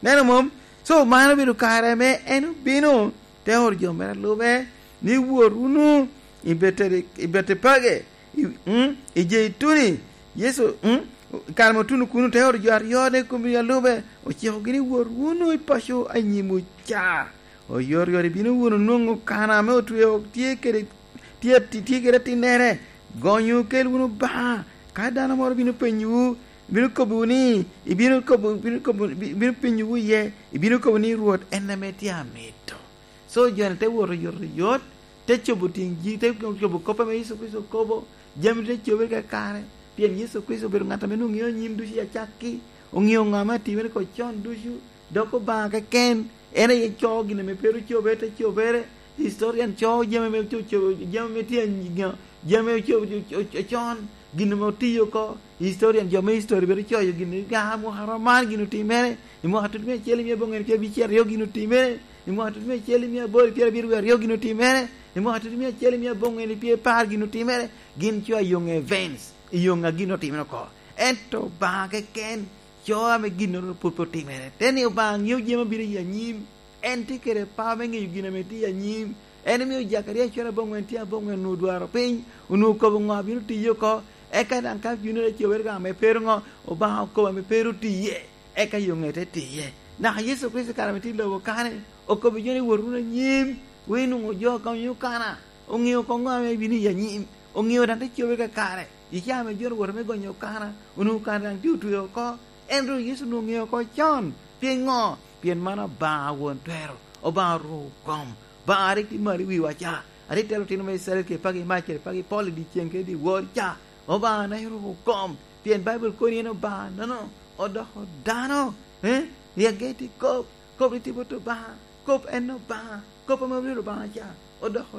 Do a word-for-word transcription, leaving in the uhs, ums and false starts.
Neno mom? So, man obedo kare ame en obino, te oro jo mere a lube, ni, "Wot wunu i Bete-, i Betepage, i, mm, i Jeituni." Yecu, mm, i kare ame otuno kuno, te oro jo aryo ne kom a lube, ocikogi ni, "Wot wunu i paco a nyimwu ca. Oyotoyot ibino wunu nwoŋo kana ame otweo tye kede, tye ati-, tye kede atinnere. Gonyo okel wunu Obaŋa. Ka dano moro bino penyowu, bino kobbiwu ni, ibino kobo, bino kobo, bi-, bino penyowu iye, ibino kobo ni, 'Rwot en ame tye amito.'" So, jo-ni te wot oyotoyot, te cobo tiŋ ji, te cobo kop ame Yecu Kricito okobo, jami te cobere kakare, pien Yecu Kricito obedo ŋat ame nwoŋo ŋeo nyim ducu i acakki, oŋeo ŋo ame atimere oko con ducu, dok Obaŋa keken en aye coo gin ame pe ru cobere te cobere. Historian coo jami ame oco-, co-, jami ame tye a-, jami ame oco-, oco-, ocon, gin ame otiyo oko. Historian, jo me history bedo coyo gin ni, "Ah, mwaka rom man gin otimere, i mwaka tutumia acel i mia aboŋwen pyerabicel aryo gin otimere, i mwaka tutumia acel i mia aboro pyerabiryo aryo gin otimere, i mwaka tutumia acel i mia aboŋwen pyerapar gin otimere." Gin coyo ayoŋ events, i yoŋ a gin otimere oko. Ento Obaŋa keken coo ame ginnoro pwod pe otimere. Te ni Obaŋa ŋeo jami abino i anyim. En tye kede power me ŋeyo gin ame tye i anyim. En omio Jakaria cwero aboŋwen tye aboŋwen onwoŋo dwaro piny, onwoŋo okobo ŋo a bino tiye oko. Eka daŋ ka bino te cobere ka ame pe ru ŋo, Obaŋa okobo ame pe ru tiye, eka yoŋe te tiye. Naka Yecu Kricito kare ame tye i lobo kany, okobo jo ni, "Wot wunu anyim, wun inwoŋo jo a gonyo kana." Oŋeo koŋ ŋo ame bino i anyim, oŋeo daŋ te cobere kakare. I caa ame jo-ni owoto me gonyo okana, onwoŋo okana daŋ tye otweo oko. Ento Yecu onwoŋo oŋeo oko con. Pien ŋo? Pien man Obaŋa Won Twero, Obaŋa Orwoko Kom, Obaŋa a rik tye malo i wiwa ca, a rik telo otino me Icrael kede pagi mac kede pagi pol i dyeceŋ kede dyewor ca. Obaŋa-na Orwoko Kom, pien Baibul kono ni en Obaŋa-nono odoko dano, eh? Ryagge tye kop, kop rik tye bot Obaŋa, kop en Obaŋa, kop ame obedo Obaŋa ca odoko